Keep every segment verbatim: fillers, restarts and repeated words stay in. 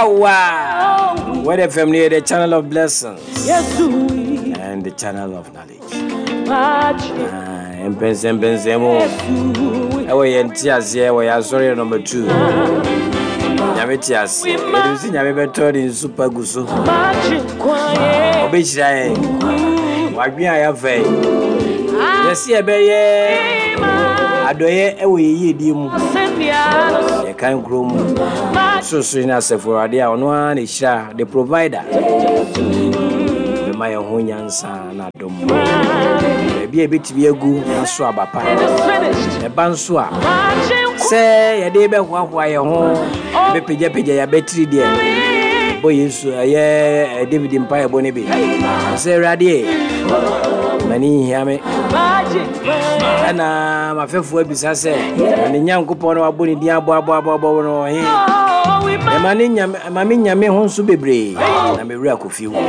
Yawa. Word F M near the channel of blessings and the channel of knowledge. Mpensempensemu. Ewo ye nti ase, ewo ya sorry number two. Nyame ti ase. Edu si nyame beto ni nsupa guso. Obehira ye. Wadwen aya fe. Yesi ebe ye. Adoye ewo ye ye die mu. Ye kan kro mu. So so na asefo ade a ono a na hira the provider. Be ma ye ho nyansa na dom. Be ebetimi agu na so abapa. E ba nso a se ye de be hoahoa ye ho be pegya pegya ya betiri de. Bo Yesu ye David mpa ye bo ne be. Se rade mani hia me. Ana mafefo abisa se ne nyankopon no abo ne din abo abo abo abo no he. E ma ne nyame ma me nyame ho nso bebre na me wura kofi wo.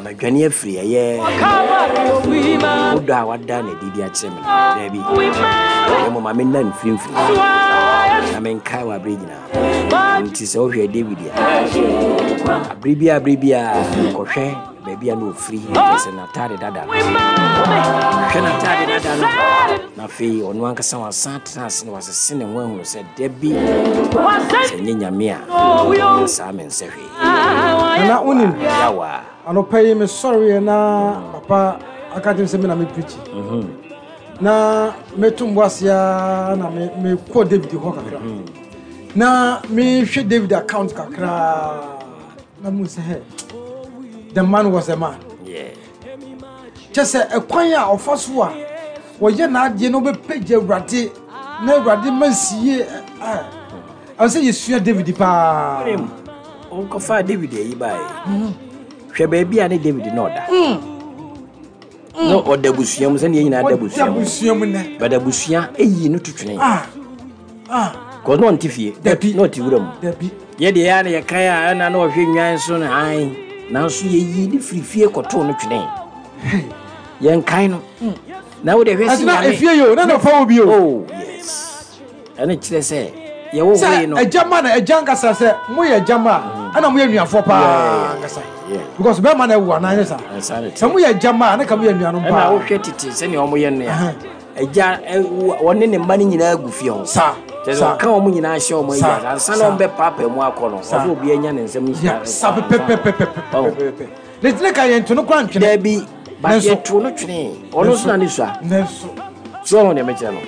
Ma dwane afiri ye. Odo a wada na didi a kire me da bi. E mo ma me na mfiri mfiri. Na me nkai wa bre gina. Nti se wo hwe David a. Abribia abribia ko hwe baby no free se na tare dada. Hwe na tare dada no. Na fe onu ankasa wasan trans na wasese ne ho ahunu se da bi. Se nyame a. Sa me nse hwe. Na unim yawa. Anopa yi me sorry na papa aka dem se me na me preach. Mhm. Na me tumbo asia na me me ko David ho kakra. Na me hwe David account kakra. Na mu se he. The man was a man. Yeah. Just a kwan a ofaso a wo ye na ade no be page Awurade na Awurade mansie eh. I say you sua David pa. Onko David yi bai. Hwɛ baabi a ne David no da. No oda busua mu sɛ ne nyina da busua mu. Busua mu ne. Ba da busua eyi no tutwene. Ah. Ah. Ko no ntifie. Dabi. No ti wura mu. Dabi. Ye de ya na ye kan a na na ohwe nwan so na han. Nanso ye yi ne firifie kɔto no twene. Ye nkan no. Na wo de hwɛ si na efie yo na na fa obi o. Oh yes. Ene kyerɛ sɛ ye wo we no. Sɛ ejama na eja nkasa sɛ mo ye ejama ana mo ye nuafo pa nkasa. Because be man e wo ana sa. Sɛ mo ye ejama na ka mo ye nuanom pa. Na wo hwɛ tete sɛ ne omo ye no ya. Eja woni ne mma ne nyina agu fie ho. Sa. Sa ka omo nyina ahye omo ya. Ansa na ombe papa mu akɔ no. Ɔso obi anya ne nsɛm nyina. Sa pe pe pe pe pe. Ne tine ka ye ntono kwa ntwene. Da bi ba ye to no twene. Ono so na ne sua. Nenso. So ho ne me kyerɛ no.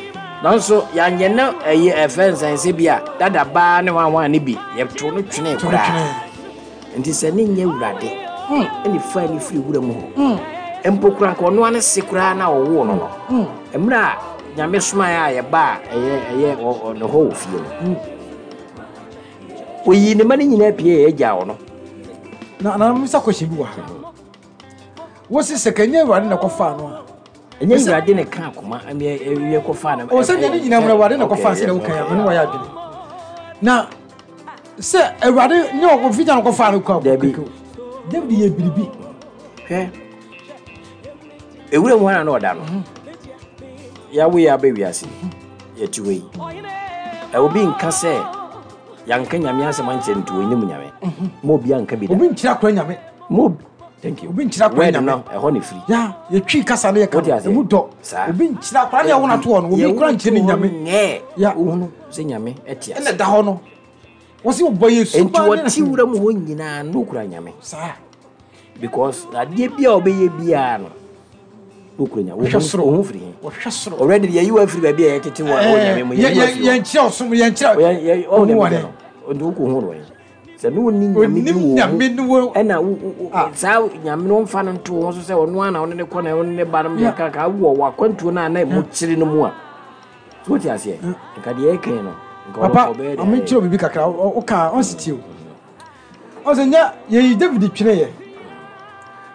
Nanso ya nye na eye efensan se bia dada ba ne wanwan ne bi ye to no twene kura. Nti se ne nye wurade. Eni fa ni firi wura mu ho. Empo kura ko no ane se kura na owo no no. Emra nyame soma ya ye ba eye eye no ho ofie no. Oyi ne ma ne nyina pie ye gya wo no. Na na misa question bi wa. Wo se se kanya wurade na kofa no a. Enye wurade ne ka akoma ye kofa na. O se ne nyina mu wurade na kofa se na wo kan ya me no wa ya adwene. Na se awurade nye ofi gya no kofa no kwa. David ye biribi. Hwe. Ewure mu na no da no. Ya we ya be wiase. Ye ti we. E obi nka se yanka nyame asem anche ntu onyim nyame. Mo obi anka bi da. Obi nkyira kwa nyame. Mo thank you. Obi nkyira kwa nyame. No, e ho ne free. Ya, ye twi kasa na ye ka. Emu dɔ. Obi nkyira kwa na ye wona to no. Obi kura nkyira ne nyame. Ya, ohunu se nyame etia. Ene da ho no. Wo se obo Yesu ba. Enti wo ti wura mu ho nyina no kura nyame. Sa. Because ade bia obeye bia no. Wo ho free. Wo hwɛ soro. Already ye you afri ba bia ye tete wo nyame mu ye. Ye nkyira osum ye nkyira. Ye o ne no. Ndu ko ho no. Se no ni nyame bi wo. E na sa nyame no mfa no nto ho so se ono ana ono ne kɔ na ono ne ba no me ka ka wo wakwantuo na na mo kyire no mu a. So what you say? Nka de e kan no. Papa, I'm sure bibi kakra o ka on sitie o. O se nya ye David twene ye.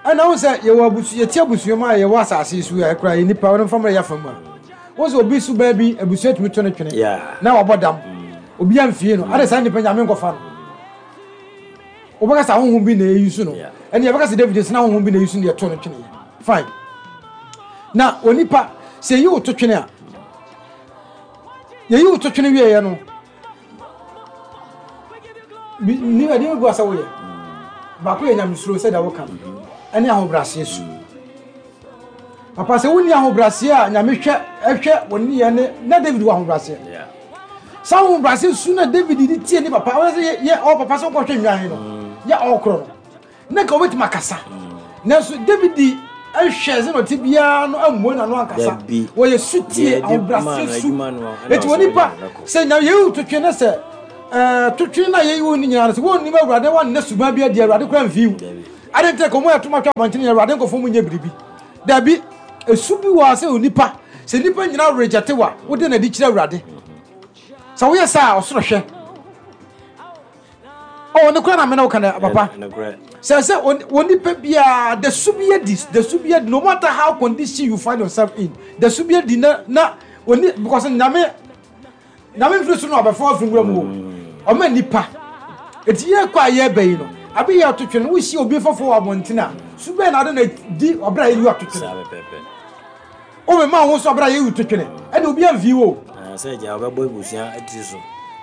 Ana wo se ye wo abusu ye ti abusu ma ye wo asase su ye kura ye nipa wo mfamra ya famu a. Wo se obi su ba bi abusu atumi to ne twene. Na wo bodam. Obi amfie no. Ade sa nipa nya me nkofa no. Obaka sa honhom bi na eyi su no. Ene ye baka se David se na honhom bi na eyi su no ye to ne twene. Fine. Na onipa se yi wo to twene a. Ye yi wo to twene wie ye no. Ni ɛdeɛ bi wɔ sɛ woyɛ baako yɛ nyamesuro sɛdeɛ woka no, ɛne ahobrɛaseɛ su. Papa, sɛ wonni ahobrɛaseɛ a, Nyame hwɛ ɛhwɛ wɔ nneyɛɛ ne na David wɔ ahobrɛaseɛ. Saa ahobrɛaseɛ su na David de tie ne papa. Wɔn sɛ yɛ ɔ papa sɛ wokɔhwɛ nnwan no, yɛ ɔkorɔ no, na nka wobɛtumi akasa, nanso David ɛhwɛ sɛ na ɔte biara no ammue n'ano ankasa. Wɔyɛ sutie, ahobrɛaseɛ su. Eti wɔ nipa sɛ nya yɛyi totwe ne sɛ ɛɛ totwe na yɛyi wo ne nyinaa no, sɛ wɔnnim Awurade, wɔnnɛ suban bi adi, Awurade kora mfi wo ade nkyerɛ kɔn mu ɛto matwa abɔntene yɛ Awurade nkɔfo mu nyɛ biribi. Dabi, esu bi wɔ sɛ onipa sɛ nipa nyinaa reject wa, wode n'adi kyerɛ Awurade sɛ woyɛ saa, ɔsoro hwɛ ɔ ne kora na mene wo kana papa sɛ sɛ onipa biara da su bi adi, da su bi adi, no matter how condition you find yourself in, da su bi adi na na oni, because Nyame Nyame mfiri so no abɛfo afiri nwura mu o, ɔma nipa eti yɛ kɔ a yɛreba yi no abe yɛ ɔtotwe no, wohyia obi fɔfo wɔ abɔnten a, su bɛn na ade na di ɔbɛrɛ a yɛyi ɔtotwe no, o mema ho so ɔbɛrɛ a yɛyi ɔtotwe ɛna obi amfi wo. Sɛ gya wobɛbɔ abusua atiri so.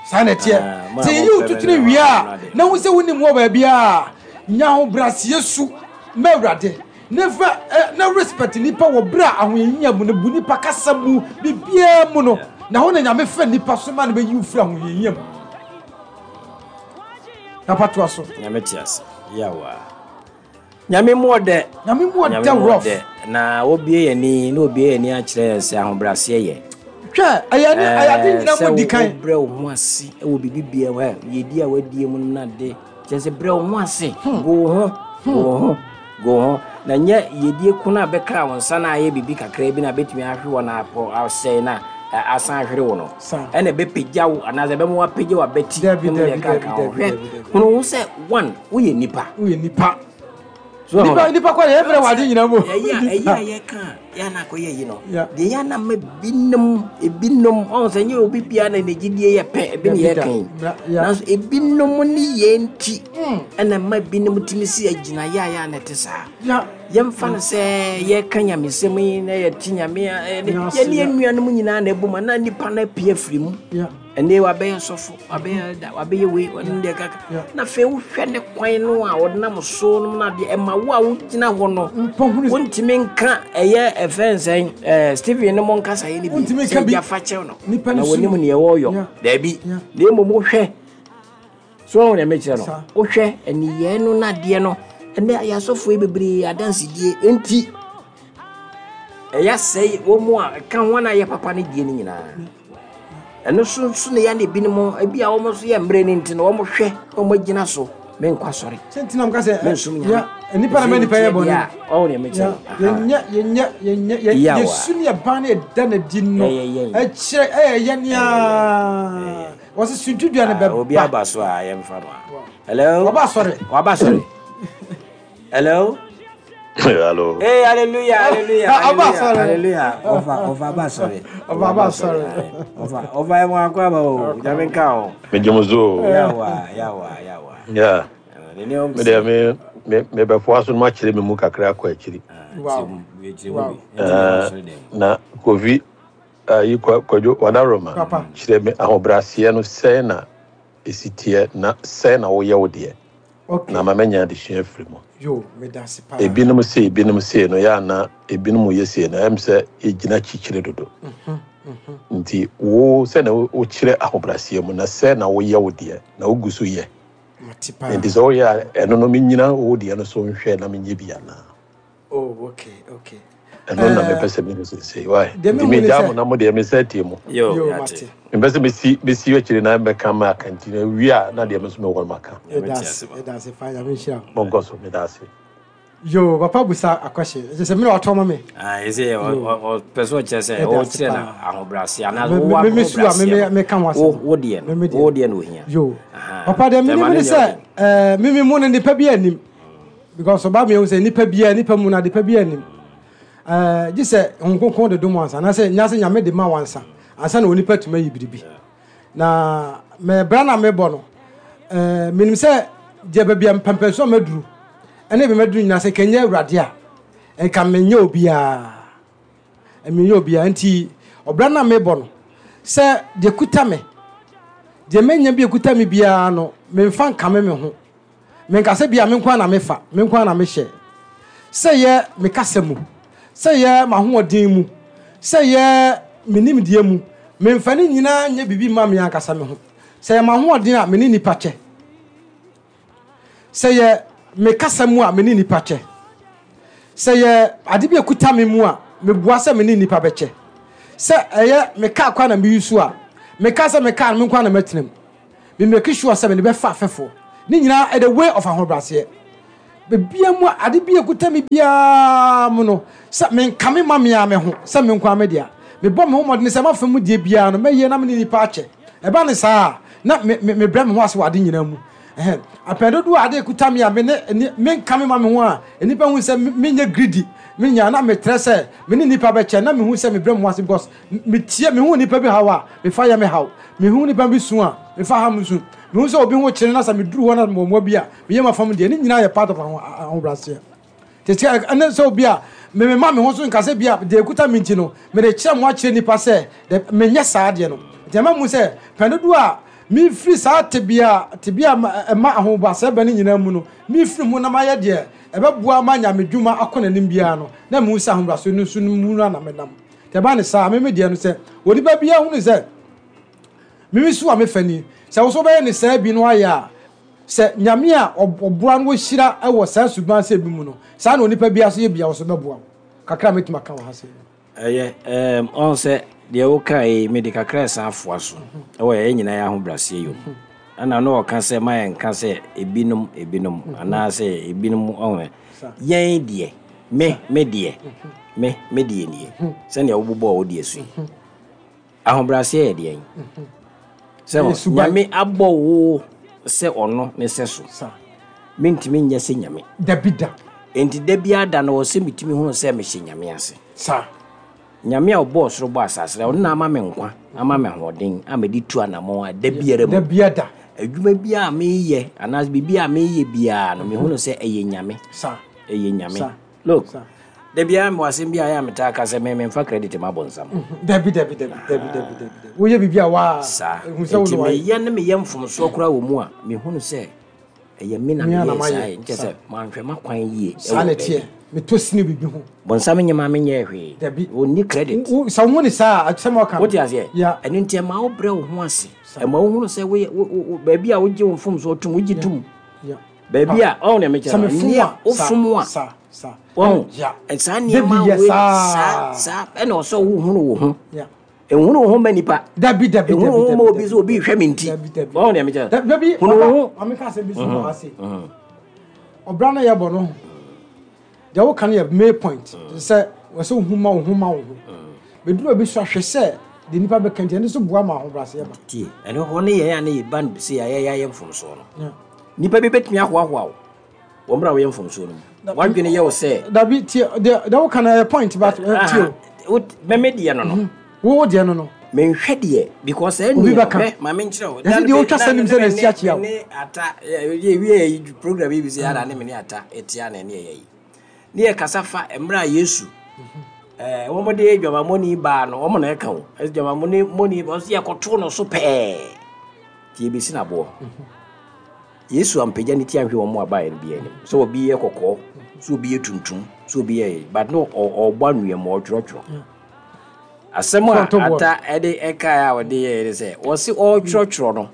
Saa na ɛteɛ sɛ yɛyi ɔtotwe wie a, na wo sɛ wonim wɔ baabi a nya ahobrɛaseɛ su ma Awurade ne fa na respect nipa wɔ berɛ a ahohiahia mu no, bu nipa kasa mu, biribiara mu no, na hɔ na Nyame fɛ nipa so ma no bɛyi wo firi ahohiahia mu. Papa, toa so. Nyame te ase yawa, Nyame mu ɔdɛ. Nyame mu ɔdɛ rough. Na wobie yɛn ni na obie yɛn ni akyerɛ yɛn sɛ ahobrɛaseɛ yɛ. Hwɛ, ɛyɛ ne ɛyɛ ade nyina mu di kan. Sɛ wobrɛ wo ho ase wɔ biribi bia mu, yɛdi a wadie mu no na de kyerɛ sɛ brɛ wo ho ase, go wo ho, go wo ho, go wo ho, na nyɛ yɛdie ko no a bɛkra wo nsa no ayɛ biribi kakra bi na bɛtumi ahwe wɔ no apɔ asɛe na asan ahwere wo no, ɛna ɛbɛpagya wo anaasɛ ɛbɛma woapagya w'abati. Hwɛ, hunu wo sɛ one, woyɛ nipa. Woyɛ nipa, nipa nipa kɔ yɛ brɛ wɔ ade nyina mu. Ɛyɛ a ɛyɛ a yɛka a yɛ ana akɔyɛ yi no deɛ, yɛ ana ma binom ebinom ɔn sɛ nyɛ obi biara na ne gyidie yɛ pɛ ebi ne yɛka yi, nanso ebinom ne yɛn nti ɛna ma binom tumi si agyina yɛ a yɛ ana te saa. Yɛmfa no sɛ yɛka nyamesɛm yi na yɛte Nyame yɛne yɛn nuanom nyinaa na ɛbɔ mu na nipa no apue afiri mu. Ɛnɛ wabɛyɛ sɔfo, wabɛyɛ da, wabɛyɛ wei, ɔne deɛ kaka, na afei wohwɛ ne kwan no a ɔnam so no na deɛ ɛma wo a wogyina hɔ no wontumi nka ɛyɛ ɛfɛ nsɛn ɛɛ Stephen no mo nkasa yɛ ne bi sɛ gya fa kyɛw no na wɔnim neɛ wɔreyɔ. Daabi, na mmom wohwɛ so wɔn deɛ mekyerɛ no, wohwɛ ɛniyɛɛ no nadeɛ no, ɛnɛ ayɛ asɔfoɔ yi bebree adansedie nti ɛyɛ asɛe wɔn mu a ɛka ho na ayɛ papa no die no nyinaa. Ɛno so nso na yɛ na ebinom ebi a wɔn nso yɛ mmerɛ no nti no wɔn hwɛ na wɔn agyina so menkɔ asɔre. Sɛ ntina mo ka sɛ mensom Nyame. Nipa na mɛ nipa yɛ bɔne. Ɔwɔ deɛ mekyerɛ. Yɛnyɛ yɛnyɛ yɛnyɛ yɛsu ne yɛban ne yɛda n'adi no ɛkyerɛ ɛyɛ yɛ nea wɔsi suntudua ne bɛba. Obi aba so a yɛmfa no a. Hello. Waba asɔre. Waba asɔre. Hello. Hello. Hey, hallelujah, hallelujah. Aba asɔre. Hallelujah. Ɔfa, ɔfa aba asɔre. Ɔfa aba asɔre. Ɔfa, ɔfa ɛmu akɔ aba o. Nyame nka o. Me gye mo so. Yawa, yawa, yawa. Yeah. Me de me me me bɛfoa so no makyerɛ me mu kakra akɔ akyiri. Wow. Wow. Na Kofi ayi Kwadwo Wadaroma kyerɛ me ahobrɛaseɛ no, sɛn na ɛsi teɛ na sɛn na woyɛ wo deɛ na ma manya adesua afiri mu. Yo, medase paa. Ebinom se ebinom se no yɛ ana ebinom yɛ se no ɛm sɛ yɛgyina kyikyiri dodo, nti wo sɛ na wokyerɛ ahobrɛaseɛ mu na sɛ na woyɛ wo deɛ na wogu so yɛ, nti sɛ woyɛ a ɛno no menyina wo deɛ no so nhwɛ na menyɛ bi anaa? Oh, okay okay Ɛno na mepɛ sɛ mehu sesei wae, nti megyaa mo na mo deɛ mesɛ tie mo. Yo, yate. Mepɛ sɛ mesi mesi akyiri na mɛka ma aka, nti na wie a na deɛ me nso mewɔ no maka. Yɛdase, yɛdase paa, Nyame nhyira wo. Monkɔ so, meda ase. Yo, papa busa akɔhyɛ ɛkyɛ sɛ mene watɔ ma me. Ɛsɛ ɔpɛ sɛ ɔkyerɛ sɛ ɔkyerɛ no ahobrɛaseɛ anaa wowɔ me su a me meka ho asɛm. Wo deɛ no, wo deɛ no ohia. Yo, papa, deɛ menim ne sɛ ɛɛ mimi mu no nipa bi anim, because ɔba mi ehu sɛ nipa bi nipa mu na nipa bi anim ɛɛ gye sɛ Honhom Kronkron de dom wansa anaasɛ nyase Nyame de ma wansa ansa na onipa tuma yi biribi. Na mɛ bra na mebɔ no, ɛɛ menim sɛ deɛ baabi a mpɛmpɛnso a maduru ɛne bi maduru nyinaa, sɛ nkɛnyɛ Awurade a, nka menyɛ obiara, menyɛ obiara. Nti ɔbra na mebɔ no sɛ deɛ kuta me Deɛ menya bi ekuta mi biara no, memfa nkame me ho. Menkasa bia me nko na mefa, me nko na mehyɛ. Sɛ yɛ mekasa mu, sɛ yɛ m'ahoɔden mu, sɛ yɛ menimdeɛ mu, memfa ne nyinaa nyɛ biribi ma me ankasa me ho. Sɛ yɛ m'ahoɔden a, me ne nipa kyɛ. Sɛ yɛ mekasa mu a, me ne nipa kyɛ. Sɛ yɛ ade bi ekuta me mu a, meboa sɛ me ne nipa bɛkyɛ. Sɛ ɛyɛ meka kwa na meyi so a, meka sɛ meka me nko na mɛtena mu. Me make sure sɛ me ne bɛfa afɛfoɔ. Ne nyinaa ɛyɛ the way of ahobrɛaseɛ. Bebia mu a ade bi ekuta me biara mu no, sɛ menka me ma me a me ho, sɛ me nko a me dea. Mebɔ me ho mmɔden sɛ mafa mu deɛ biara no, mɛyɛ na me ne nipa akyɛ. Ɛba ne saa na me me brɛ me ho ase wɔ ade nyinaa mu. Ɛhɛn, apɛn dodoɔ a ade ekuta me a me ne menka me ma me ho a, nipa hu sɛ menyɛ greedy. Me nya na metrɛ sɛ me ne nipa bɛkyɛ na mehu sɛ mebrɛ me ho ase because metie mehu nipa bi haw a, mefa yɛ me haw. Mehu nipa bi su a, mefa ha me su. Mehu sɛ obi ho kyerɛ na sɛ meduru hɔ na mmoa bi a, meyɛ ma fam deɛ, ne nyinaa yɛ part of ahobrɛaseɛ. Tete ɛne sɛ obi a me me ma me ho so nkasa bi a deɛ ekuta me nti no, mede kyerɛ mo akyerɛ nipa sɛ menyɛ saa deɛ no. Nti ɛma mu sɛ pɛn dodoɔ a mefiri saa tebea tebea ɛma ahobrɛaseɛ bɛ ne nyinaa mu no, mefiri mu na mayɛ deɛ ɛbɛboa ma nyame dwuma akɔ n'anim biara no, na mehu sɛ ahobrɛaseɛ no nso no mu no na menam. Nti ɛba ne saa, me me deɛ no sɛ onipa biara hunu sɛ mimi so a mefa ni, sɛ wo so bɛyɛ ne saa bi no ayɛ a, sɛ nyame a ɔboa no wɔhyira wɔ saa suban sɛ bi mu no, saa na onipa biara so yɛ bia wo so bɛboa wo. Kakra mɛtumi aka wɔ ha sɛ. Ɛyɛ, ɛɛm, ɔn sɛ deɛ woka yi, mede kakra ɛsan afoa so. Ɛwɔ yɛn nyinaa yɛ ahobrɛaseɛ yom. Ɛna no ɔka sɛ ma yɛnka sɛ ebinom ebinom anaasɛ ebinom ɔn yɛn deɛ, me me deɛ, me me deɛ nie. Sɛnea wobobɔɔ wo deɛ so yi. Ahobrɛaseɛ yɛ deɛn? Sɛ nyame abɔ wo sɛ ɔno ne sɛ so. Mentumi nyɛ sɛ nyame. Dabi da. Enti da biara da no wɔ sɛ metumi hunu sɛ mehyɛ nyame ase. Sa. Nyame a ɔbɔɔ soro bɔ asase na ɔno na ama me nkwa, ama me ahoɔden, ama de tu anammɔn a da biara mu. Da biara da. Adwuma biara a meyɛ anaasɛ biribi a meyɛ biara no, mehunu sɛ ɛyɛ nyame. Sa. Ɛyɛ nyame. Look, da biara mewɔ asɛm bi a ɛyɛ a metaa ka sɛ me memfa credit ma bɔnsam. Dabi dabi dabi dabi dabi dabi. Woyɛ biribi a waa. Saa. Nti meyɛ ne meyɛ mfomsoɔ koraa wɔ mu a, mehunu sɛ ɛyɛ me na meyɛ saa yɛ. Nkyɛ sɛ manhwɛ m'akwan yie. Saa na ɛteɛ. Metɔ sini biribi ho. Bɔnsam nyɛ ma menyɛ hwee. Dabi. Ɔnni credit. Sɛ wohu ne saa a, asɛm a ɔka no. Wote aseɛ? Yeah. Ɛno nti ɛma wobrɛ wo ho ase. Ɛma wohunu sɛ woyɛ baabi a wogye wo mfomsoɔ tom, wogye tom. Baabi a ɔwo na mekyerɛ no. Sɛ mefom a, wofom a. Sa, sa. Wɔn. Yeah. Saa nneɛma wei saa saa ɛna ɔsɛ wohunu wo ho. Ehunu wo ho ma nipa. Dabi dabi dabi. Ehunu wo ho ma obi sɛ obi hwɛ me nti. Wɔn na mekyerɛ. Dabi. Hunu wo ho. Maame ka asɛm bi so wɔ ha se. Ɔbra no yɛ bɔ no. Deɛ woka no yɛ main point. Sɛ wɔsɛ wo ho ma wo ho ma wo ho. Bɛduru obi so ahwɛ sɛ deɛ nipa bɛka nti ɛno nso boa ma ahobrɛaseɛ ba. Tie, ɛno hɔ ne yɛn a ne yɛ ba no sɛ yɛayɛ yɛayɛ mfomsoɔ no. Nipa bi bɛtumi ahoahoa wo wɔ mmerɛ a woyɛ mfomsoɔ no mu. Wadwene yɛ wo sɛ. Dabi tie, deɛ deɛ woka no yɛ point but tie o. Mɛmɛ deɛ no no. Wo deɛ no no. Menhwɛ deɛ because ɛni obi bɛka. Hwɛ maame nkyerɛ wo. Yɛsɛ deɛ wotwa sɛ nim sɛ na esi akyia wo. Ne ata yɛ wie yɛ program yi bi sɛ yɛara ne me ne ata etia na ɛne ɛyɛ yi. Ne yɛ kasa fa mmerɛ a Yesu ɛɛ wɔn de dwamamɔni baa no wɔn na ɛka o. Ɛsɛ dwamamɔni mɔni ba ɔsɛ yɛkɔto no so pɛɛ. Tie besi na aboɔ. Yesu ampagya ne ti ahwɛ wɔn a baeɛ no bi anim. Sɛ obi yɛ kɔkɔɔ, sɛ obi yɛ tuntum, sɛ obi yɛ but no ɔbɔ anwea mu ɔtwerɛtwerɛ. Asɛm a ata ɛde ɛkae a wɔde yɛɛ ne sɛ wɔse ɔretwerɛtwerɛ no.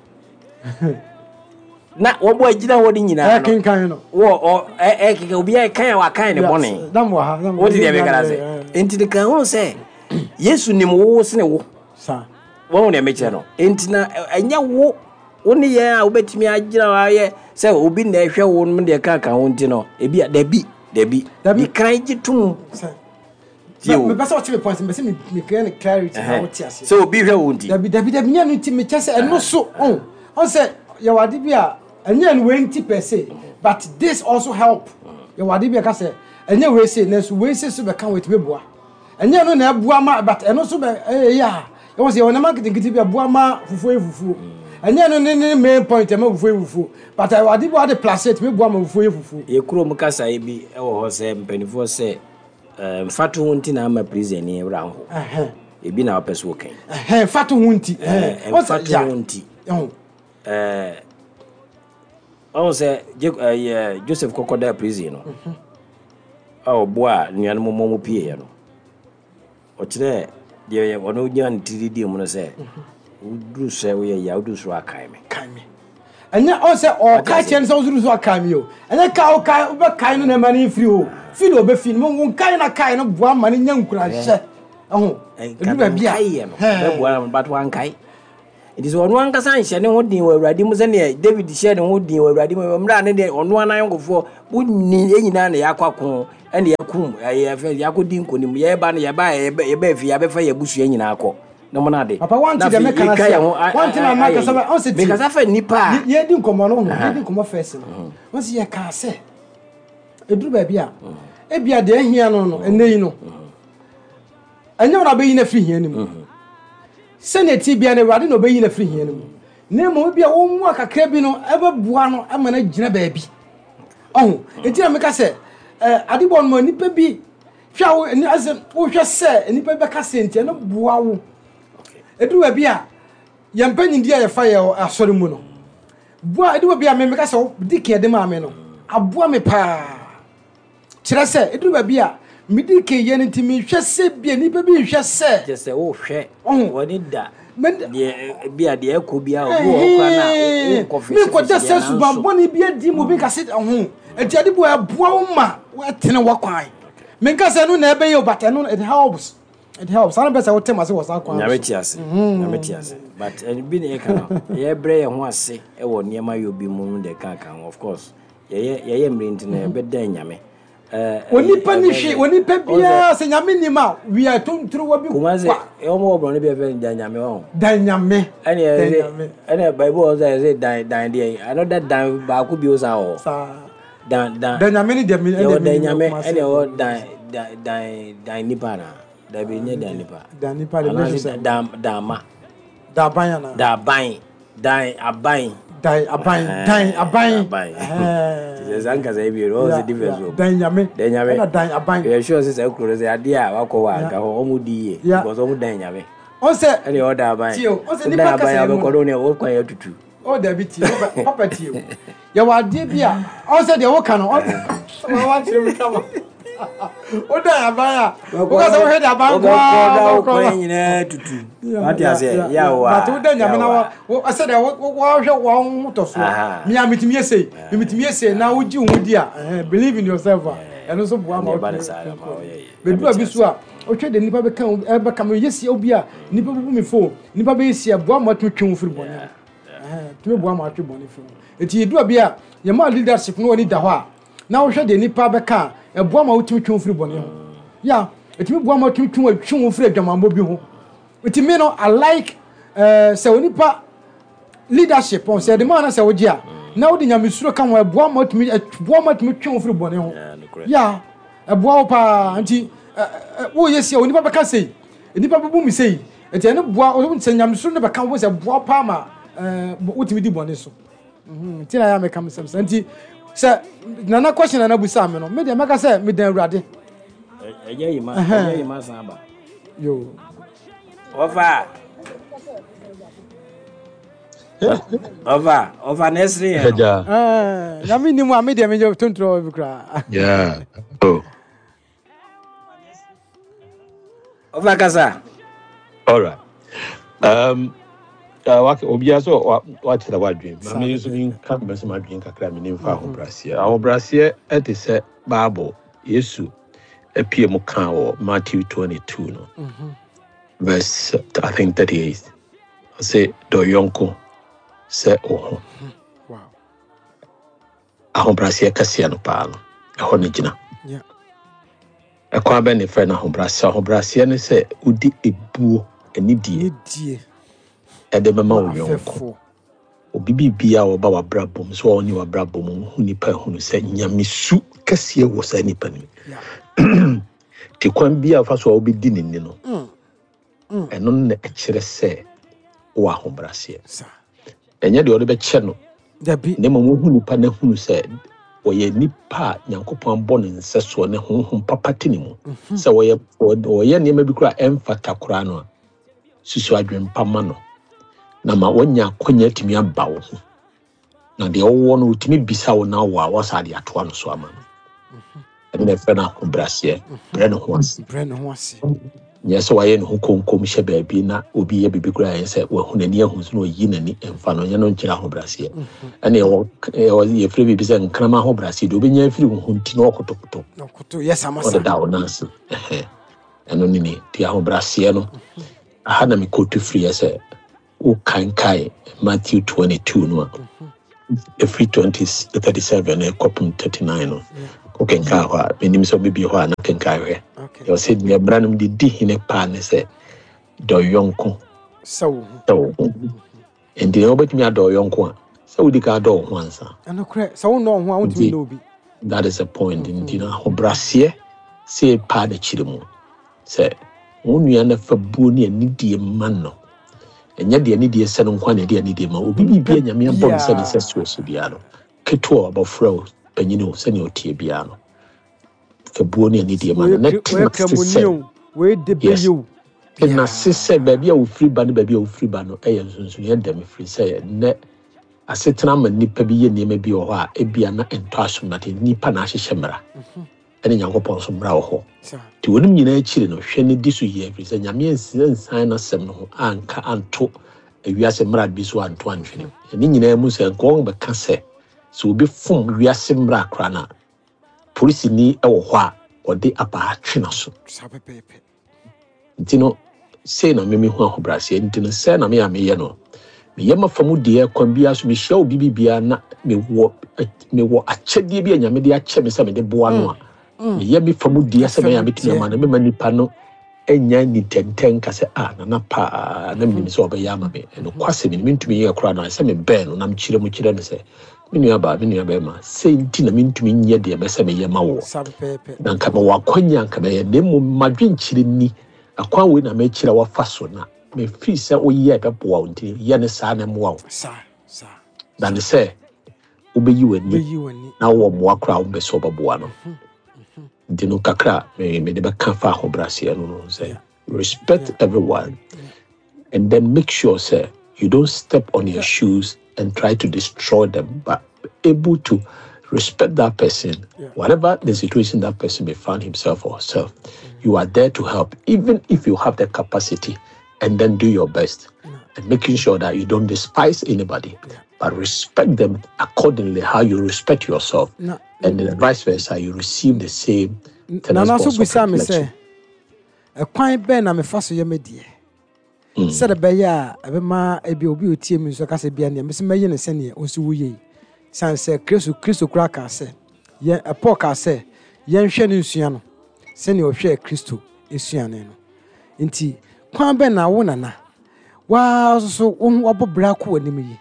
Na wɔbɔ agyina hɔ de nyinaa no. Ɛkenkan no. Wɔ ɔ ɛkenkan obi a ɛkan a wakan ne bɔne. Dam wɔ ha. Wote deɛ meka no ase. Nti de kan ho sɛ Yesu nim wo sene wo. Saa. Wɔn deɛ mekyerɛ no. Nti na ɛnyɛ wo wo ne yɛn a wobɛtumi agyina hɔ ayɛ sɛ obi na ɛhwɛ wo no deɛ ka ka ho nti no ebi a dabi dabi. Dabi. Di kan gye tom. Mepɛ sɛ ɔkyerɛ me point, mepɛ sɛ me me clear ne clarity na wote ase. Sɛ obi hwɛ wo nti. Dabi dabi dabi nyɛ no nti mekyɛ sɛ ɛno so ɔn ɔn sɛ yɛwɔ ade bi a ɛnyɛ no wei nti per se but this also help. Yɛwɔ ade bi a ka sɛ ɛnyɛ wei se nanso wei se so bɛka wei tumi boa. Ɛnyɛ no na ɛboa ma but ɛno so bɛ ɛyɛ a yɛwɔ sɛ yɛwɔ nneɛma nketenkete bi a ɛboa ma fufuo yɛ fufuo. Ɛnyɛ no ne ne main point ɛma fufuo yɛ fufuo but ɛwɔ ade bi a wɔde plus ɛtumi boa ma fufuo yɛ fufuo. Yɛ kurom kasa yi bi ɛwɔ hɔ sɛ mpanimfoɔ sɛ mfato ho nti na ama prison ni wura ho. Ebi na wopɛ so wɔkan. Ɛhɛn mfato ho nti. Mfato ho nti. Eh, ɔhu sɛ eh, Joseph kɔkɔda prison no, a ɔboa nuanom mmɔ mu pieeɛ no, ɔkyerɛ deɛ ɔno gyina ne tiri di mu no sɛ woduru sɛ woyɛ yia, woduru soro akae me. Kae me. Ɛnyɛ ɔn sɛ ɔka kyerɛ no sɛ woduru so akae me o. Ɛnyɛ ka wokae wobɛkae no na ɛma no mfiri hɔ. Fi de ɔbɛfi no, wo nkae na kae no boa ma no nya nkuranhyɛ. Ɛho. Ɛduru baabi a. Nkaeɛ no bɛboa no, but wankae. Nti sɛ ɔno ankasa nhyɛ ne ho den wɔ Awurade mu sɛneɛ David hyɛ ne ho den wɔ Awurade mu mmerɛ a ne deɛ ɔno anayɔnkofoɔ wonni yɛn nyinaa na yɛakɔ ako ɛne yɛkum ɛyɛ yɛakɔdi nkonim, yɛba no yɛba yɛba fie yɛabɛfa yɛn abusua nyinaa kɔ na mo nade. Papa wante deɛ meka no ase a, wante na maka sɛ ɔn sɛ tie. Mekasa fa nnipa a yɛdi nkɔmmɔ no ho, yɛdi nkɔmmɔ fɛs no. Ɔn sɛ yɛkaa sɛ ɛduru baabi a ebia deɛ ahia no no ɛnnɛ yi no ɛnyɛ wɔn abɛyi no afiri hia no mu. Sɛnea ti bia no Awurade na ɔbɛyi no afiri hia no mu. Na mmom ebia wɔn mu akakra bi no ɛbɛboa no ama no agyina baabi. Ɔho enti na meka sɛ adebɔ no ma nnipa bi hwɛ a wo asɛ wohwɛ sɛ nnipa bi bɛka sɛ nti ɛno boa wo. Ɛduru baabi a yɛn mpanyindie a yɛfa yɛ asɔre mu no boa. Ɛduru baabi a me meka sɛ di kan de maa me no aboa me paa. Kyerɛ sɛ ɛduru baabi a medi kan yɛ no nti mehwɛ sɛ bia nnipa bi nhwɛ sɛ kyerɛ sɛ wohwɛ wɔne da deɛ bia deɛ ɛkɔ bia obi wɔ hɔ koraa na wonkɔ fese menkɔda sɛ subanbɔne bi adi mu obi nka sɛ ɔho nti ade boa ɛboa wo ma ɛtene wɔ kwan. Menka sɛ ɛno na ɛbɛyɛ o, but ɛno it helps. It helps. Saa na bɛ sɛ wote ma se wɔ saa kwan. Nyame te ase. Nyame te ase. But bi na yɛka no, yɛbrɛ yɛn ho ase ɛwɔ nneɛma yɛ obi mu no de ka ka ho. Of course, yɛyɛ yɛyɛ mmere nti na yɛbɛda Nyame. Onipa ni hwe, onipa biara sɛ Nyame nim a we are tontoro bi. Kumase, ɛwɔ mo wɔ brɔno bi ɛfɛ dan Nyame wɔ. Dan Nyame. Ɛne ɛsɛ ɛne Bible wɔ sɛ ɛsɛ dan dan deɛ another dan baako bi o sa wɔ. Saa. Dan dan. Dan Nyame ni deɛ mi ɛne dan Nyame ɛne ɛwɔ dan dan dan dan nipa na. Dabi nye dan nipa. Dan nipa de measure sɛ. Dan dan ma. Dan aban ana. Dan aban. Dan aban. Dan aban. Dan aban. Aban. Sɛ saa nkasa yi bi o, ɔwɔ sɛ difference o. Dan Nyame. Dan Nyame. Ɛna dan aban. Yɛ sure sɛ sɛ kuro sɛ adeɛ a wakɔ hɔ a nka hɔ ɔmo di yie. Because ɔmo dan Nyame. Ɔsɛ. Ɛna ɔwɔ dan aban. Tie o, ɔsɛ nipa kasa yi mu. Dan aban abɛkɔ no ne ɔkwan yɛ tutu. Ɔ dabi tie, papa tie o. Yɛwɔ adeɛ bi a ɔsɛ deɛ wɔka no ɔsɛ wakyerɛ mi kama. O dan aban a woka sɛ wohwɛ de aban ko a wokɔ nyinaa tutu. Wate ase ya wa. But wo dan Nyame na wo sɛ deɛ wohwɛ wɔn ho tɔ so. Me a metumi yɛ sei, me metumi yɛ sei na wogye wo ho di a, believe in yourself a ɛno nso boa ma wotumi. Bɛduru bi so a wohwɛ de nipa bɛka bɛka me yɛ sie obi a nipa bɛbu me fo, nipa bɛyɛ sie boa ma watumi twe wo firi bɔne ho. Tumi boa ma atwe bɔne firi ho. Enti yɛduru bi a yɛma leadership no wɔ ni da hɔ a na wohwɛ de nipa bɛka a ɛboa ma wotumi twe wo firi bɔne ho. Ya, ɛtumi boa ma wotumi twe twe wo firi adwamammɔ bi ho. Nti me no I like sɛ onipa leadership on sɛ de ma na sɛ wogye a na wode nyamesuro ka ho ɛboa ma wotumi ɛboa ma wotumi twe wo firi bɔne ho. Ya, ɛboa wo paa. Nti woyɛ sie onipa bɛka sei, nipa bɛbu me sei. Nti ɛno boa sɛ nyamesuro no bɛka wo sɛ boa paa ma wotumi di bɔne so. Nti na ya meka me sɛm sɛ nti sɛ nana question nana busa me no me deɛ mɛka sɛ medan Awurade. Ɛyɛ yi ma ɛyɛ yi ma san ba. Yo. Ɔfa. Ɔfa ɔfa na ɛsere yɛn no. Ɛɛ nyame ni mu a me deɛ me tontoro bi koraa. Yeah. Oh. Ɔfa kasa. All right. Um. Uh, obiara so wakyerɛ w'adwene ma me nso menka mɛsɛ m'adwene kakra me ne mfa ahobrɛaseɛ. Ahobrɛaseɛ ɛte sɛ Bible Yesu apue mu kaa wɔ Matthew twenty-two no, verse I think thirty-eight. Ɔse dɔ yɔnko sɛ wo ho. Ahobrɛaseɛ kɛseɛ no paa no ɛhɔ no gyina. Ɛkwan bɛn ne frɛ no ahobrɛaseɛ? Ahobrɛaseɛ ne sɛ wodi ebuo anidie ɛde bɛma wo yɔnko. Obi biribiara a ɔba w'abrabɔ mu sɛ ɔne w'abrabɔ mu hu nipa ehunu sɛ nyamesu kɛseɛ wɔ saa nipa no mu. Te kwan bi a ɔfa so a wobɛdi ne ni no, ɛno na ɛkyerɛ sɛ wɔ ahobrɛaseɛ. Ɛnyɛ deɛ ɔde bɛkyɛ no. Na mmom wohu nipa no ehunu sɛ wɔyɛ nipa a Nyankopɔn abɔ ne nsɛsoɔ ne honhom papa te ne mu. Sɛ wɔyɛ wɔyɛ nneɛma bi koraa ɛmfata koraa no a, susu adwempa ma no. Na ma woanya akwanya atumi aba wo ho. Na deɛ wowɔ no, wotumi bisa wo na wɔ a wɔsa de atoa no so ama no. Ɛno na ɛfrɛ no ahobrɛaseɛ. Brɛ ne ho ase. Brɛ ne ho ase. Nyɛ sɛ wayɛ ne ho konkom hyɛ baabi na obi yɛ biribi koraa, ɛyɛ sɛ wahu n'ani ahu so na ɔyi n'ani mfa no, nyɛ no nkyerɛ ahobrɛaseɛ. Ɛne ɛwɔ ɛwɔ yɛfrɛ biribi sɛ nkrama ahobrɛaseɛ deɛ wobɛnya afiri wo ho nti na ɔkotokoto. Na ɔkoto yɛ samasa. Ɔdeda wo nan ase. Ɛhɛ. Ɛno ne ne nti ahobrɛaseɛ no, aha na mekɔtu firiɛ sɛ wokankae Matthew twenty-two no a, ɛfiri twenty thirty-seven ɛkɔpem thirty-nine no, wokenkae hɔ a, menim sɛ wobɛbie hɔ a na kenkae hwɛ. Okay. Ɛwɔ sɛ deɛ mmara no de di hene paa ne sɛ dɔ yɔnko sɛ wo ho. Sɛ wo ho. Nti na wobɛtumi adɔ yɔnko a, sɛ wodi ka adɔ wo ho ansa. Ɛnokorɛ, sɛ wonnɔ wo ho a, wontumi Nti nnɔ obi. That is the point. Nti na ahobrɛaseɛ sɛ paa n'akyiri mu sɛ wo nua no fa buo ne anidie ma no. Ɛnyɛ deɛ anidie sɛ no nko a na ɛde anidie ma obi. Biribi a Nyame abɔ no sɛ ne sɛ soɔ so biara no, ketewa o, abɔfra o, panyin o, sɛnea ɔteɛ biara no, fa buo ne anidie ma no na Wɔyɛ tena ase kramoni sɛ o, wɔyɛ debe Yes. yi o. Tena ase sɛ baabi a wofiri ba ne baabi a wofiri ba no ɛyɛ nsonsonoeɛ dɛm, firi sɛ nnɛ asetena ma nnipa bi yɛ nneɛma bi wɔ hɔ a ebia na ɛntɔ asom, na nnipa na ahyehyɛ mmara ɛne Nyankopɔn nso mmara wɔ hɔ. Saa. Nti wɔnom nyinaa akyiri no, hwɛ ne di so yie, ɛfiri sɛ Nyame ansi nsan n'asɛm no ho anka anto ewiase mmara bi so anto antwene. Ɛne nyinaa mu sɛ nka wɔn bɛka sɛ sɛ obi fom wiase mmara koraa no a, polisini ɛwɔ hɔ a ɔde abaa twe n'aso. Saa pɛpɛɛpɛ. Nti no, sei na meme hu ahobrɛaseɛ. Nti no, sɛ na meyɛ a meyɛ no, meyɛ mafa mu deɛ kwan biara so mehyia obi bi biara na mewɔ mewɔ akyɛdeɛ bi a Nyame de akyɛ me sɛ mede boa no a, meyɛ me fa mu deɛ sɛ mɛyɛ a metumi ama no, mema nipa no ɛnya nitɛntɛn ka sɛ, "Ah, nana paa na menim sɛ ɔbɛyɛ ama me." Ɛno kwasɛ me mentumi yɛ koraa no, sɛ mebɛn no na mekyerɛ mu kyerɛ no sɛ, "Me nua baa, me nua bɛrima, sei nti na mentumi nyɛ deɛ mɛsɛ meyɛ ma woɔ." Saa pɛpɛɛpɛ. Na nka mewɔ akwanya nka mɛyɛ, na mmom madwenkyerɛ ni, akwan wei na mɛkyerɛ wafa so na mefiri sɛ woyɛ ɛbɛboa wo, nti yɛ ne saa na ɛmmoa wo. Saa saa. Dane sɛ wobɛyi w'ani Bɛyi w'ani. na wowɔ mmoa koraa a wompɛ sɛ wobɛboa no. Nti no, kakra a me- mede bɛka fa ahobrɛaseɛ no no sɛ respect everyone and then make sure sɛ you don't step on your shoes and try to destroy them, but able to respect that person. Yeah. Whatever the situation that person may find himself or herself, you are there to help, even if you have the capacity, and then do your best and making sure that you don't despise anybody, but respect them accordingly how you respect yourself, Na and then vice versa, you receive the same Nana so response of bisa me reflection. sɛ ɛkwan bɛn na mefa so yɛ me deɛ sɛde bɛyɛ a ɛbɛma ebi obi a otie mi nso kasa bia nea mesi mɛyɛ no sɛneɛ ɔsi wo yie yi, san sɛ kristo kristo koraa kaa sɛ yɛn ɛ, Paul kaa sɛ yɛnhwɛ ne nsua no sɛnea ɔhwɛ Kristo esuane no. Nti kwan bɛn na wo nana waa nso so wo ho wabɔ bra kɔ w'anim yi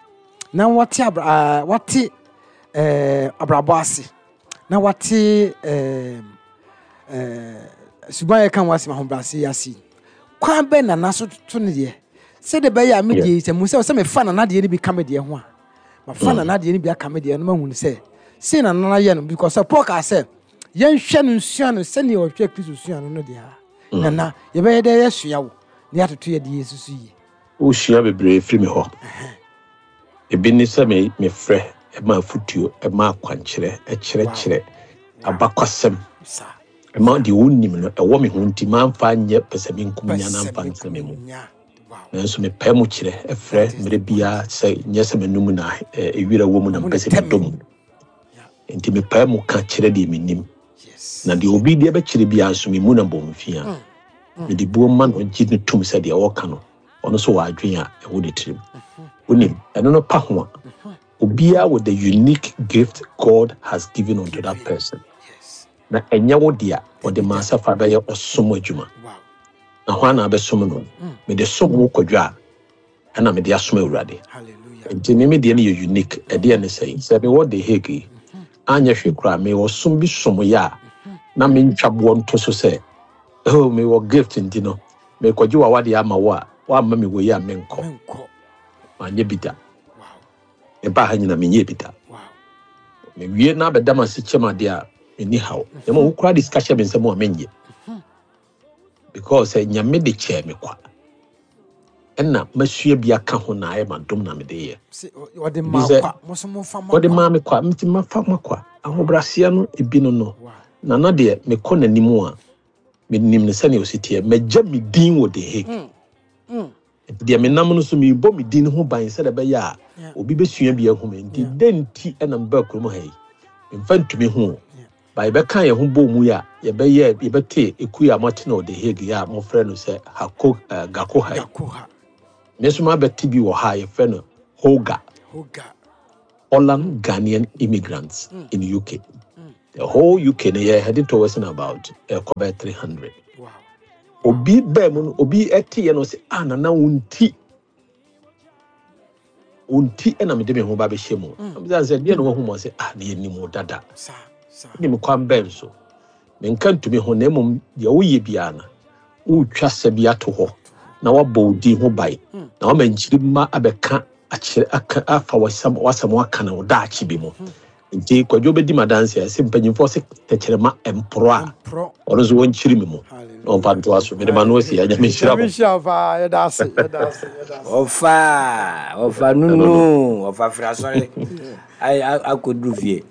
na wate abra aa wate ɛɛ abrabɔ ase na wate ɛɛ ɛɛ suban yɛ ka ho asɛm ahobrɛase yi ase yi, kwan bɛn na nana so to ne deɛ sɛde bɛyɛ a me deɛ yi sɛ mu sɛ sɛ mefa nana deɛ no bi ka me deɛ ho a, mafa nana deɛ no bi aka me deɛ no, mahu no sɛ sei na nana yɛ no, because sɛ Paul kaa sɛ yɛnhwɛ no nsua no sɛnea ɔhwɛ Kristo sua no no deɛ a, nana yɛbɛyɛ dɛ yɛsua wo na yɛatoto yɛ deɛ yɛsusu yie? Wosua bebree firi me hɔ. Ebi ne sɛ me mefrɛ ɛma afotuo, ɛma akwankyerɛ, ɛkyerɛkyerɛ abakwasɛm, saa ɛma deɛ wonim no ɛwɔ me ho, nti mamfa nyɛ pɛ sɛ menkum nya na mfa nsɛ me mu. Nya, wow. Nanso mepɛ mu kyerɛ, ɛfrɛ mmerɛ biara sɛ nyɛ sɛ m'anum na ɛ, ewira wɔ mu na mepɛ sɛ medɔ mu, nti mepɛ mu ka kyerɛ deɛ menim. Yes na deɛ obi deɛ bɛkyerɛ biara nso memu na bɔ mfia, mede buo ma no, gye no tom sɛ deɛ ɔka no, ɔno nso wɔ adwene a ɛwɔ ne tirim. Wonim ɛno no pa ho a, obiara with the unique gift God has given unto that person, yes na ɛnyɛ wo dea, ɔde ma sɛ fa bɛyɛ ɔsom adwuma. Wow na hwan na abɛsom no? Mede som wo kwadwo a, ɛna mede asom Awurade. Hallelujah. Nti me me deɛ no yɛ unique. Ɛdeɛ ne sɛ sɛ mewɔ The Hague yi, anyɛ hwee koraa mewɔ som bi som yɛ a, na mentwa boɔ nto so sɛ, "Oh, mewɔ gift nti no mekɔgye w'awadeɛ ama wo a, woamma me wɔ yi a menkɔ." Menkɔ. Manyɛ bi da. Wow mebaa ha nyina menyɛ bi da. Wow mewie na abɛda m ase kyɛm adeɛ a, menni haw, na mmom wo koraa de sika hyɛ me nsɛm a, menyɛ, because sɛ Nyame de kyɛɛ me kwa. Ɛna masua bi aka ho na ayɛ madom na mede yɛ. Ɔde ma kwa, mo so momfa ma Ɔde maa me kwa, nti mafa ma kwa. Ahobrɛaseɛ no ebi no no. Na na deɛ mekɔ n'anim a, menim no sɛnea ɔsi teɛ. Magya me din wɔ The Hague. Nti deɛ menam no so merebɔ me din ho ban sɛdeɛ ɛbɛyɛ a obi bɛsua bi ahu me. Nti dɛn nti ɛna mebaa kurom ha yi? Memfa ntumi ho. Ba yɛbɛka yɛn ho bɔ mu yi a, yɛbɛyɛ yɛbɛte ekuo a moate no wɔ The Hague yi a mofrɛ no sɛ Hako uh, Gakoha yi. Me nso mabɛte bi wɔ ha a yɛfrɛ no Hoga. Hoga. Holland Ghanaian immigrants mm. in U K. Mm. The whole U K no yɛ heading towards about uh, bɛyɛ three hundred. Wow. Obi bɛɛ mu no, obi ɛte yɛ no sɛ, ah, nana, wo nti wo nti ɛna mede me ho ba bɛhyɛ mu. Mm. Sɛ deɛ na wahu mu sɛ, ah, ne yɛnim wo dada. Saa saa. Nim kwan bɛn so menka ntumi ho, na mmom deɛ woyɛ biara no, wotwa sɛ bi ato hɔ na wabɔ wo din ho ban na wama nkyiri mma abɛka akyerɛ aka afa wasɛm wasɛm aka no wo daakye bi mu. Nti Kwadwo bɛdi ma danse a sɛ mpanyimfoɔ sɛ tɛkyerɛma mporɔ a Mporɔ. Ɔno nso wɔnkyiri me mu na ɔmfa ntoa so. Mede ma no asi a, Nyame nhyira Nyame mo. nhyira wo paa. Yɛda ase, yɛda ase, yɛda ase. Ɔfa ɔfa nunu ɔfa firi asɔre ayi akɔduru fie.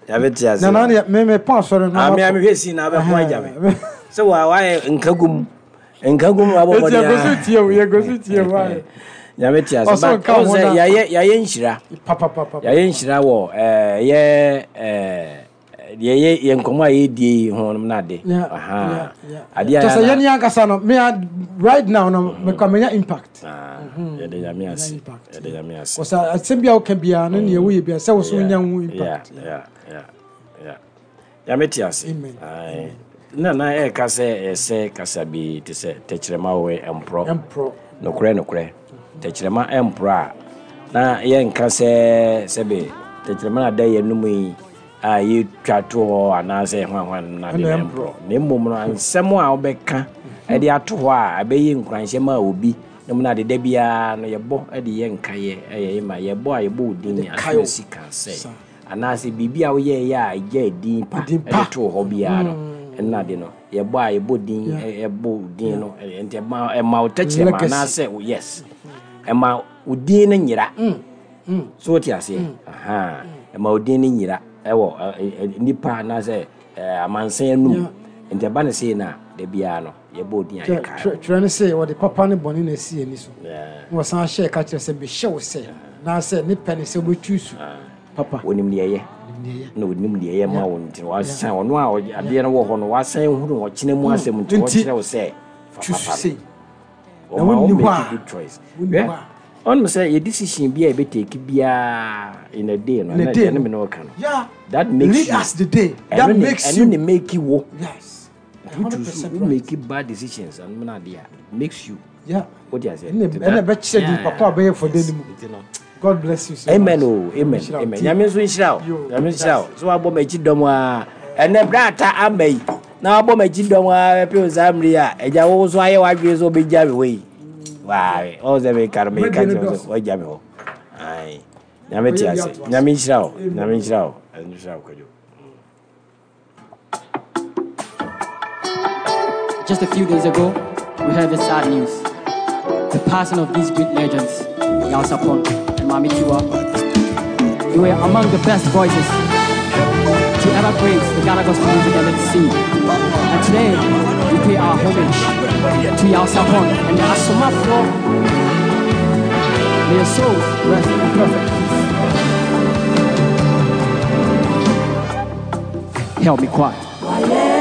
Nyame te ase. Nana deɛ, me me pɔn asɔre no. Ame ame hwɛ si na abɛko agya me sɛ wa wayɛ nkagum nkagum wabɔ Eti bɔde. yɛgu so tie o, yɛgu so tie o, ayɛ. Nyame te ase. Ɔsɔ But nka ho ɔn sɛ na- yɛayɛ yɛayɛ nhyira. Papapapa. Yɛayɛ nhyira wɔ ɛɛ yɛ ɛɛ deɛ yɛ yɛ nkɔmɔ a yɛdie yi ho nom n'ade. Yeah, Aha. yeah, yeah. Adeɛ a Kyɛ sɛ yɛana- yɛne ankasa no, me a right now no, mekɔ menya impact. Ah, yɛde Nyame ase. Impact. Yɛde Nyame ase. Kɔsɛ asɛm bi a woka biara no, neɛ woyɛ biara sɛ wo so wonya ho impact. Yeah, yeah, yeah, yeah. Nyame te ase. Amen. Aye. Na na ɛka sɛ ɛsɛ kasa bi te sɛ tɛkyerɛma wɔ ɛmporɔ. Ɛmporɔ. Nokorɛ nokorɛ, tɛkyerɛma ɛmporɔ a, na yɛnka sɛ sɛbe tɛkyerɛma no ada yɛn num yi a yɛtwa to hɔ anaasɛ hwanhwan no ade Ɛna no ɛmporɔ, na mmom no nsɛm a wobɛka ɛde ato hɔ a ɛbɛyɛ nkuranhyɛ ma obi na mu no ade da biara no yɛbɔ de yɛ nkayɛ ɛyɛ ma yɛbɔ a yɛbɔ wo din kae wo. asomasi ka sɛ Sa. Anaasɛ biribi a woyɛɛyɛ a ɛgya din pa Din pa. ɛde too hɔ biara no, ɛno ade no yɛbɔ a yɛbɔ din ɛ- yɛbɔ wo din no ɛ- nti ɛma ɛma wo tɛkyerɛma Legacy. anaasɛ wo, yes, ɛma wo din no nyera so, wote aseɛ? Aha. Ɛma wo din no nyera ɛwɔ ɛ- ɛ- ɛ- nipa anaasɛ ɛ, amansan anum. Yeah. Nti ɛba no sei no a, da biara no yɛbɔ wo din a yɛkae wo. Twerɛ no sɛ wɔde papa ne bɔne na asi ani so. Yeah. Na wɔsan hyɛɛ ka kyerɛ sɛ mehyɛ wo sɛ naasɛ ne pɛ ne sɛ wobɛtwi su papa. Onim deɛ ɛyɛ. Nim deɛ ɛyɛ. Na onim deɛ ɛyɛ ma wo, nti wasan ɔno a ɔgye- adeɛ no wɔ hɔ no, wasan hunu ɔkyena mu asɛm, nti Nti, ɔkyerɛ wo sɛ fa twi su papa sei no. Na Ɔma wo wonni hɔ make a- good choice. Wonni Hwɛ, hɔ a- ɔnom sɛ yɛ decision bi a yɛbɛtake biara in a day no In a ɛna day ɛne no. me ne wɔka no Yeah. that makes Lead you us the day. That ɛno ne makes ɛno you. ne make wo. Yes. Wo choose one hundred percent wo right. make bad decisions ɛno na adeɛ a makes you. Yeah. Wote aseɛ? Ɛna Nti ɛna that- ɛbɛkyerɛ di Yeah. papa a ɔbɛyɛ for no mu. Nti no God bless you so amen much. o, amen. Nhyira wo. Amen. Nyame nso nhyira wo. Yo, Nyame nhyira wo so wabɔ m'akyi dɔm a ɛnɛ berɛ ata ama yi na wabɔ m'akyi dɔm a bɛpɛ wo saa mmere yi a agya wo so ayɛ w'adwene sɛ wobɛgya me hɔ yi waawe ɔwo sɛ meka no meka Mɛdeɛ no kyerɛ wo sɛ dɔɔso. woagya me hɔ. Ae. Nyame te Ɔyɛ bi ase. ato ase. Nyame nhyira wo. Amen. Nyame nhyira wo. Nyame nhyira wo, Kwadwo. Just a few days ago, we heard the sad news. The passing of these great legends, Yaw Sarpong and Maame Tiwaa. They were among the best voices to ever grace the Ghana gospel music and its scene. And today, we pay our homage to Yaw Sarpong and the Asomafoɔ. May your souls rest in perfect peace. Help me quiet.